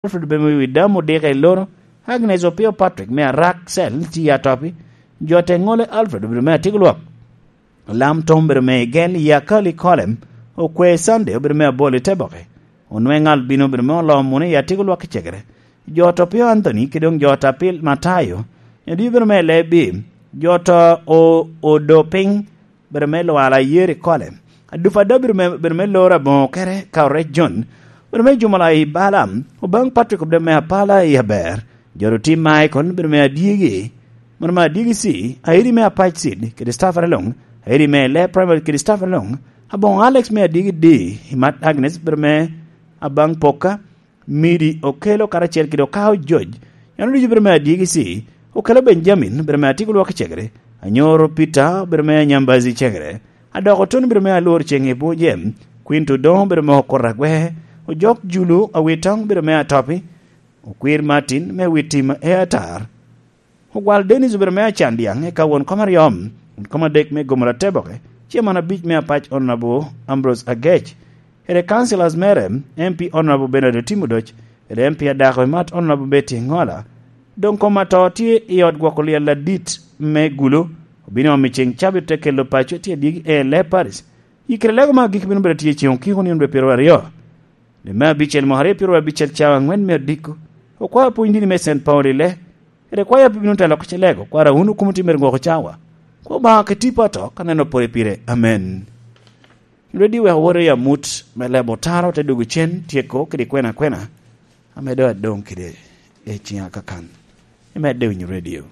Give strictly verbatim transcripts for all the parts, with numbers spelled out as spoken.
Alfred obedo me wi dam odika i loro, Agnes Opio Patrick me Arak Cell tye i Atopi, jo te ŋole Alfred obedo me Atigolwak, Lam Tom obedo me Igel i Akali Kolem, Okwe Sunday obedo me Abol i Teboke, Onweŋ Albino obedo me Oloo Mune i Atigolwak i Cegere, jo ot Opio Anthony kede doŋ jo ot Apil Matayo, Edio obedo me Lebi, jo ot O-, Odo Piny, bedo me lwala Yeri Kole. Adupa ada bedo me, bedo me loro aboŋo kere ka orec Jon. Bedo me jumo la i Balaam, Obaŋ Patrick bedo me apala i aber. Joro Tim Michael bedo me adyegi. Mono me adyegi ci, airi me apac cid, kede Stephen Along, airi me le primary kede Stephen Along, aboŋo Alex me adyegi di, i mat Agnes bedo me abaŋ poka, Midi Okelo karacel kede Okao George, en oducu bedo me adyegi ci, Okelo Benjamin bedo me Atigolwak i Cegere, Anyoro Peter bedo me Anyambazi i Cegere, Adoko Tony bedo me Alwor Ceŋ i Buje, Quinto Odoŋo bedo me Okot Agwe, Ojok Julu Awitoŋ bedo me Atopi, Okwir Martin me Witim e Atar. Ogwal Dennis obedo me Acandiaŋ, eka won kom aryo, won kom adek me Gomoro Ateboke, Chairman abic me Apac Honorable Ambrose Agec, kede Councillors mere, M P Honorable Bernard Otim Odoc, kede M P Adako Imat Honorable Betty Ŋola. Doŋ kom ato tye i ot gwoko lyel adit me Gulu, obino omi ceŋ cabit te kelo paco tye adyegi en le Paris. Yikere lego me agikki bino bedo tye ceŋ okiko nino dwe pyeraryo. Dwe me abicel mwaka aryo pyeraryo abicel cawa aŋwen me odiko. Okwao pwony dini me Saint Paul i le. Ere kwaya pe bino telo ka cilego, kwara wun okum otimere gwoko cawa. Kwa Obaŋa ke tipo ato, ka neno pore pire. Amen. Radio wek woro i amut me lebo taro te dugu cen, tyeko kede kwena kwena. Ame doŋ adoŋ kede i ciŋa kakan. Imedde winyo radio.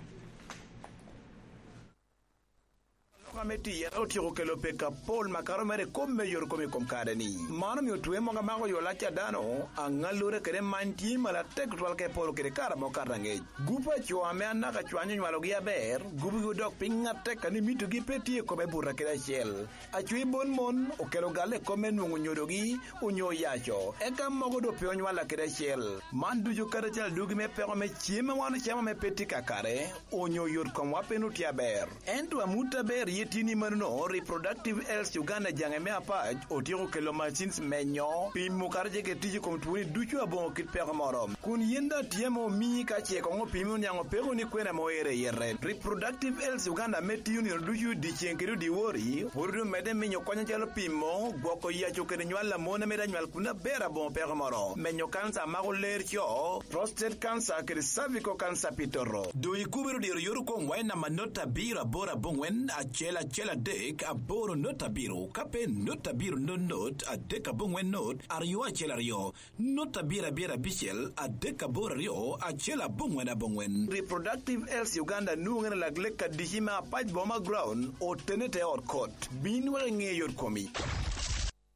Aloka me tiyere otyeko kelo pek apol makato mere i kop me yot kom i kom kare-ni. Man omio twe mogo amako yo lac a dano, aŋallure kede many tye malo atek tutwal ka eporo kede kare amo kato aŋec. Gup a co ame anaka cwanyo onywalogi aber, gubogi odok piny atek a ni mitogi pe tye i kome buto kede acel. Acwi bon mon okelo galle i kop me nwoŋo nyodogi onyo oyaco, eka mogo doŋ pe onywalla kede acel. Man ducu kadi acel adugi me peko me cem a wan ocamo ame pe tye kakare, onyo yot komwa pe nut tye aber. Ento amut aber ye tye ni manono, Reproductive Health Uganda jaŋe me apac otyeko kelo machines menyo, pimo kara ce kede tic i kom twoni ducu aboŋo kit peko moro. Kun yin daŋ tye ame omii ka ce koŋ opimi oniaŋ opeko ni kwena ame oero i yete. Reproductive Health Uganda ame tiyo nino ducu dyeceŋ kede odyewor, pwod omedde minyo kony acalo pimo, gwoko yaco kede nywal a mon ame daŋ nywal kun aber aboŋo peko moro, menyo kanca a mako ler co, prostate cancer kede cervical cancer pi toto. Doŋ ikubere odiro yot okomwa i namba not abiro aboro aboŋwen acel acel adek aboro not abiro, ka pe not abiro not not adek aboŋwen not aryo acel aryo, not abiro abiro abicel adek aboro aryo acel aboŋwen aboŋwen. Reproductive Health Uganda nwoŋere lak lek adici me apac boma ground, otene te ot kot. Bin wek iŋe yot komi.